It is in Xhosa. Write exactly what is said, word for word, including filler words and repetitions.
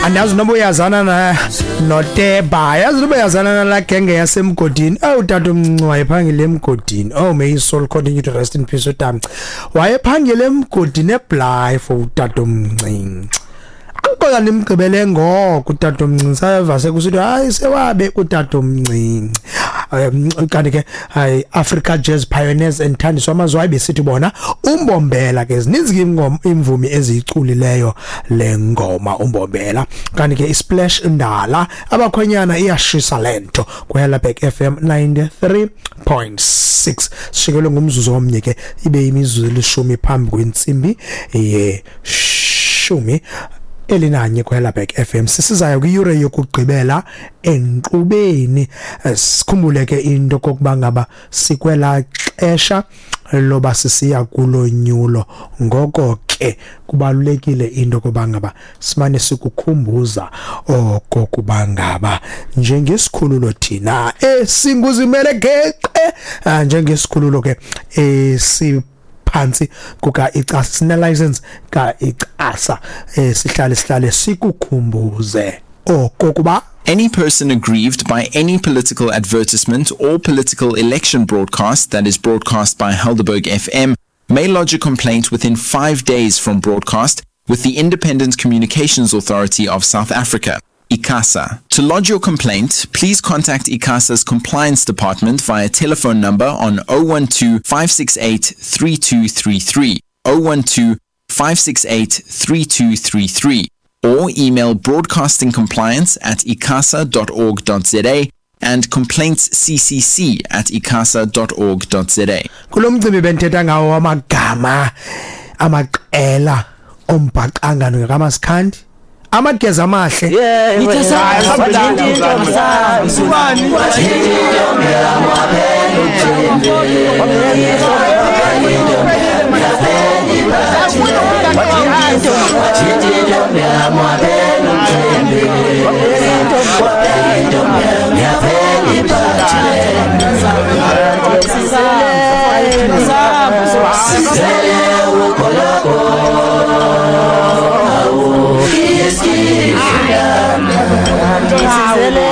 Andazi noba uyazana na noTeba, yazi noba uyazana nalaa genge yasemgodini. Oh, utatomncinci wayephangela emgodini. Oh, may his soul continue to rest in peace. Utamci wayephangela emgodini eBlythe for utatomncinci. Ankola ndimgqibele ngoko utatomncinci, sayeva sekusithiwa hayi sewabe utatomncinci. Um, kanti ke hayi, Africa Jazz Pioneers and Thandiswa Mazwai besithi bona uMbombela. Ke zininzi ke ingoma, imvumi eziyiculileyo le ngoma uMbombela. Kanti ke iSplash Ndala, abakhwenyana, iyashisa lento kwiHelderberg F M ninety-three point six. Sishikelwe ngumzuzu omnye ke ibe imizuzu elishumi phambi kwentsimbi yeshumi elinanye kwiHelderberg F M. Sisizayo kwiyure yokugqibela enkqubeni. Eh, sikhumbule ke into kokuba ngaba sikwela xesha loba sisiya kulonyulo, ngoko ke kubalulekile into koba ngaba simane sikukhumbuza okokuba ngaba njengesikhululo thina esinguzimele geqe, ah, njengesikhululo ke esi phantsi kuka ICASA, sine license ka ICASA, eh sihlale sihlale sikukhumbuze okokuba Any person aggrieved by any political advertisement or political election broadcast that is broadcast by Helderberg F M may lodge a complaint within five days from broadcast with the Independent Communications Authority of South Africa, ICASA. To lodge your complaint, please contact ICASA's compliance department via telephone number on zero one two five six eight three two three three, zero one two five six eight three two three three, or email broadcastingcompliance at icasa dot org dot za and complaintsccc at icasa dot org dot za. Kulo mcimbi bendithetha ngawo amagama amaqela ombhaqanga ngakamaskandi, amageza amahle. Wathinta intombi sami, wathinta intombi yami, waphela umcimbi. Wathinta intombi yami, waphela umcimbi. Waphela intombi yami, yaphela iphathi. Sizele ugologo, awu iski. Sizele.